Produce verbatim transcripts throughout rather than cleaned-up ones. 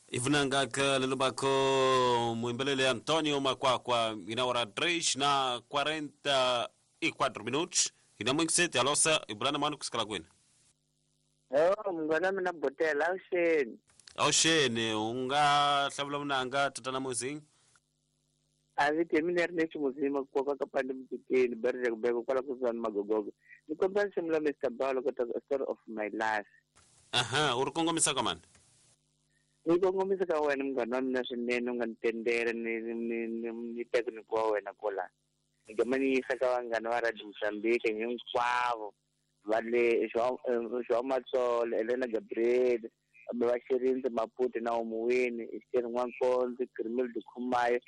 Ivunanga lelobako muimbelele Antonio Makwakwa ina hora três na quarenta e quatro minutos. Ina muito sete alosa ibulana manu kusikala kwenu. Oh, mngwana mina botela awuxeni. Awuxeni unga hlavula vunanga tatana Muzing. A vite mina ri nexi muzima ku koka ka pande mutini berje ku beka kwala kusuhani magogogo. Ni kombela nsimu la Mister Balo kota story of my life. Aha, u ri kongomisa ka mani? Ni kongomisa ka wena munghana wa mina swinene u nga ni tendela ni ni ni ni teka ni wa wena kola. Ni gama ni yisa ka vanghana va Radio Mozambique hinkwavo va le João João Matsolo, Elena Gabriel, va Xirindzi Maputo na Omuwini, Esther Nwankonzi, Grimildo Khumayo,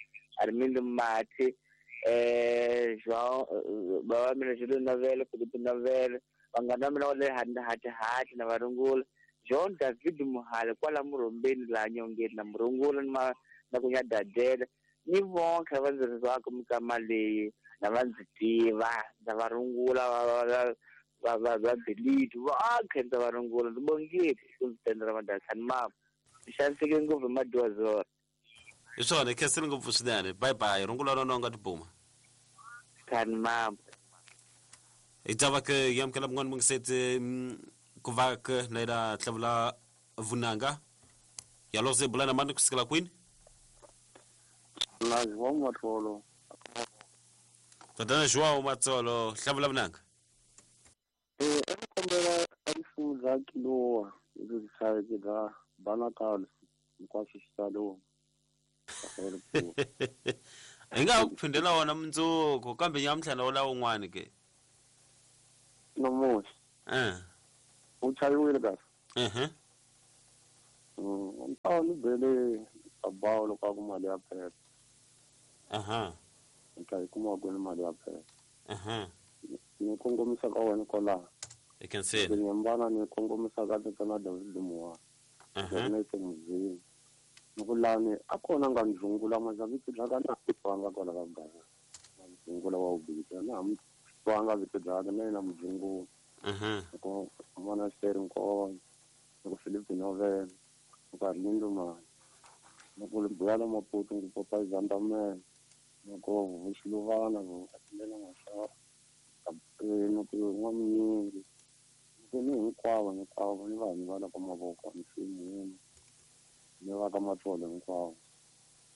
Armindo Mati, eh João va mina Júlio Novela, Felipe Novela, vanghana va mina va le Hati Hati na varungula. John David Muhale kwala Murombeni laha nyongeni na murungula na na ku nyadadela ni vonke va ndzi rizaka mikama leyi na va ndzi tiva ndza va rungula va va va va va delete va khe ndza va rungula ndzi bongile ku ndzi tendela madakhani mama xaniseke ngopfu hi madyuwazora. Hi swona khensile ngopfu swinene. Bye bye rungula rona u nga tibuma khani mama. Hi ta ke yamukela mun'wana mungiseti ku va ke na ila hlavula vunanga ya lose bulana mani kusikela kwini. Na João Matsolo. Tatana João Matsolo hlavula vunanga. Eh a kombela a risimu bya Kilowa lebyi hlayeke bya Banakal hinkwaswo swi tsariwa. Hi nga ku phindela wona mundzuku kambe nyamuntlha na wula wun'wani ke. Namuntlha. Eh. U chayiwile kahle. Mhm. Mm, a ni bele abawo loko a ku mali ya phela. Aha. Ni ta yi kuma kwini mali ya phela. Aha. Ni kongomisa ka wena kwalaho. I can see. Ni hambana ni kongomisa ka tatana David Muwa. Aha. Ni te muzini. Ni ku lani a kona nga ndzungula mazavito bya ka na twanga kwala ka Gava. Ndzungula wa ubita na ham twanga vito bya ka na yena mdzungula. Mhm. Ko mwana Esther Nkono, ko Philip Novela, ko Arlindo Mani, ko Buyala Maputo, ko Papa Zandamela, ko Vuxiluvana, ko Atlela Mashava, ko ko N'waminyingi, ko ni hinkwavo hinkwavo ni vanhu va la ka mavoko mfumo ni va ka Matsolo hinkwavo.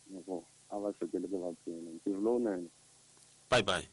Ni ko a va sekeleke va pfuna. Ntirho lowunene. Bye bye.